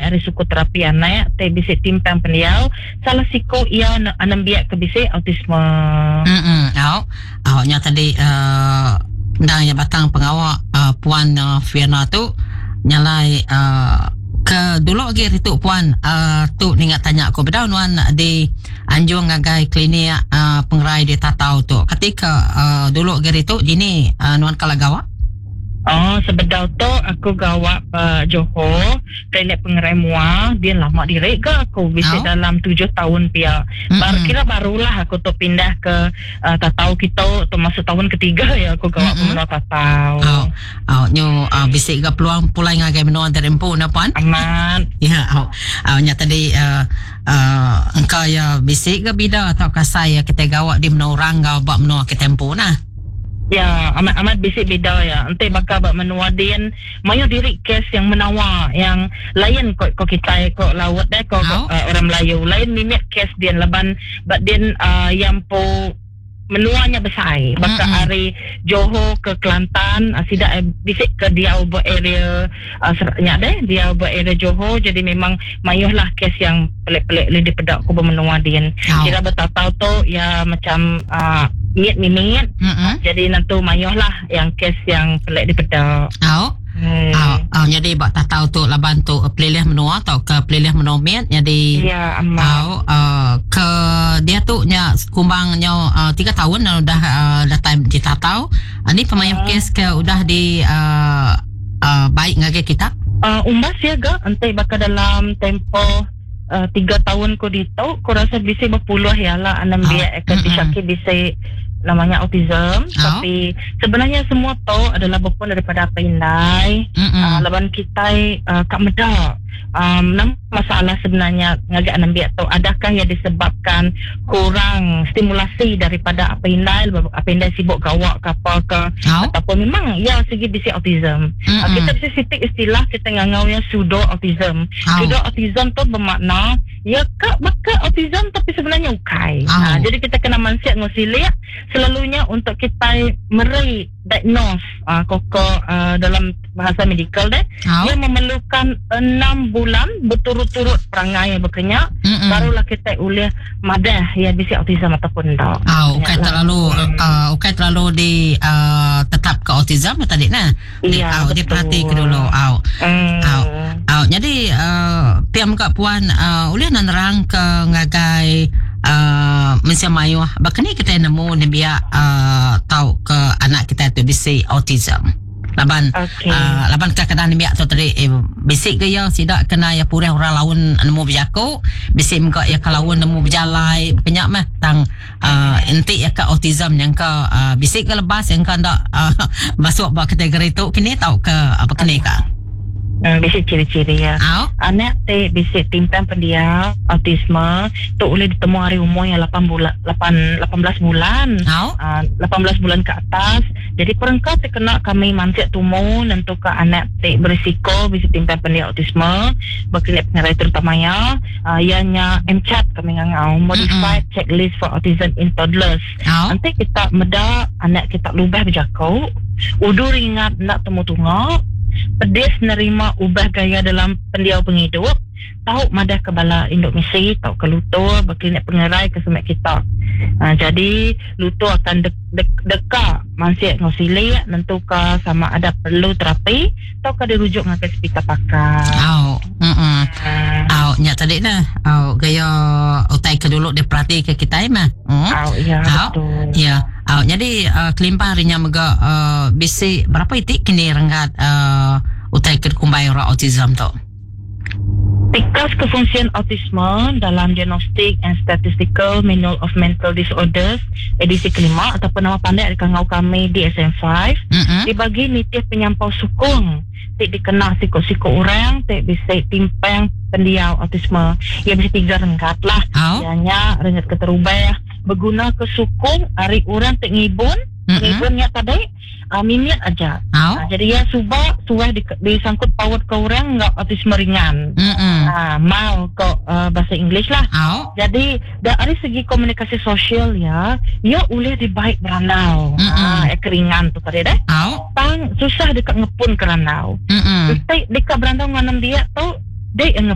ari sukut terapi anak ti bisi timpang pendiau salah siku iya nembiak ke bisi autisme. Mm au au nya tadi uhh endang iya batang pengawa uhh puan Fiona tu nyalai uhh ke dulu agi ritu puan uhh tu ninga tanya ku bedau nuan di anjung ngagai klinik uhh pengerai di Tatau tu kati ka uhh dulu agi ritu dini uhh nuan kala gawa? Oh, sebedau tu aku gawa ba Johor, klinik pengerai mua, din lama diri ga aku bisi dalam tujuh taun pia. Baru kira barulah aku tu pindah ke uh, Tatau kitu, tu masuk tahun ketiga ya aku gawa ba menua Tatau. Oh, oh nyu uh, bisi ga peluang pulai ngagai menua diri empu ne puan? Amat. Ya, oh. Oh nya tadi uh, uh, engka ya bisi ga bida atau kasai ya kitai gawa di menua orang enggau ba menua kitai empu nah. Ya, amat amat bisi bida ya. Enti baka ba menua din, mayuh diri kes yang menawa yang lain ko ko kitai ko laut deh ko uh, orang Melayu. Lain mimit kes din laban ba din uh, yang empu menua nya besai. Baka mm-hmm. ari Johor ke Kelantan, uh, sida eh, bisi ke diau ba area uh, nya deh, diau ba area Johor. Jadi memang mayuh lah kes yang pelik-pelik li dipeda ku ba menua din. Kira betatau tu ya macam uh, mit mimit. Mm-hmm. Jadi nentu mayuh lah yang kes yang pelik dipeda. Au. Hmm. Au, au jadi ba tatau tu laban tu pelilih menua atau ke pelilih menua mit jadi ya amat. Au uh, ke dia tu nya kumbang nyo uh, 3 tahun dah udah uh, datai di tatau. Uh, ni pemayuh uh. kes ke udah di uh, uh, baik ngagai kita? Uh, umbas ya ga enti baka dalam tempoh uh, tiga tahun ku ditu ku rasa bisi berpuluh ya lah anak oh. biak ke disyaki bisi namanya autism oh. tapi sebenarnya semua tu adalah berpun daripada apa indai uh, laban kita uh, kak meda um, nama masalah sebenarnya ngagai anak biak tu adakah ia disebabkan kurang stimulasi daripada apa indai apa indai sibuk gawak ke apa ke oh. ataupun memang ia segi bisi autism mm-hmm. uh, kita bisi sitik istilah kita ngangau ia pseudo autism oh. Pseudo autism tu bermakna ia ke baka autism tapi sebenarnya ukai oh. uh, jadi kita kena mansiat ngosilik selalunya untuk kita meri diagnose uh, koko uh, dalam bahasa medical deh oh. dia memerlukan enam bulan berturut-turut perangai yang berkenyak mm-hmm. barulah kita boleh madah ya bisi autism ataupun tak. Oh, ukai terlalu mm. uh, ukai terlalu di uh, tetap ke autism tadi nah. Di ya, au diperhati ke dulu au. Mm. Au. Au jadi uh, piam ka puan uh, ulih nerang ke ngagai uh, mensia mayuh baka ni kitai nemu nembiak uh, tau ke anak kitai tu bisi autism laban okay. uh, laban kadang-kadang nembiak tu tadi eh, bisi ke iya sida kena iya purih orang laun nemu bejaku bisi mega iya ke laun nemu bejalai baka meh tang uh, enti iya ke autism nyangka uh, bisi ke lebas nyangka enda uh, masuk ba kategori tu kini tau ke apa kini ka Bisi ciri-ciri iya. Au. Anak ti bisi timpang pendiau autisme tu ulih ditemu ari umur iya lapan bulan lapan 18 bulan. Au. Uh, 18 bulan ke atas. Jadi perengka ti kena kami mansik tumu nentuka anak ti berisiko bisi timpang pendiau autisme bekeliak pengerai terutama iya uh, iya nya M-CHAT kami ngangau Modified mm-hmm. Checklist for Autism in Toddlers. Au. Enti kita meda anak kita lubah bejaku, udu ringat enda temu tunga, pedis nerima ubah gaya dalam pendiau pengidup, tau madah ke bala indu misi tauka lutur ba klinik pengerai ke semak kita. Ha, jadi lutur akan de, de, deka mansik enggau silik nentuka sama ada perlu terapi tauka dirujuk ngagai sepital pakar. Au. Mm. Au nya tadi nah. Au gaya utai ke dulu diperhati ke kitai mah. Mm. Au ya Au. betul. Ya. Au jadi uh, kelimpah ari nya mega uh, bisi berapa iti kini renggat uh, utai ke dikumbai orang autism tu? Tikas kefungsian autisme dalam Diagnostic and Statistical Manual of Mental Disorders edisi kelima ataupun nama pandak dikangau kami DSM-5 Mm-mm. dibagi nitih penyampau sukung ti dikena siku-siku orang ti bisi timpang pendiau autisme. Iya bisi tiga renggat lah. Au. Iya nya renggat keterubah begunaka sukung ari orang ti ngibun, Mm-mm. ngibun nya tadi uh, mimit aja. Au. Uh, jadi iya suba suah di, disangkut paut ke orang enggau autisme ringan. Mm-mm. Uh, mild ko uh, bahasa English lah. Au. Jadi dari segi komunikasi sosial ya, iya ulih dibaik berandau. Mm-mm. Ah, uh, ringan tu tadi deh. Au. Tang susah deka ngepun ke randau. Mm-mm. Enti deka berandau dengan nembiak tu, dek.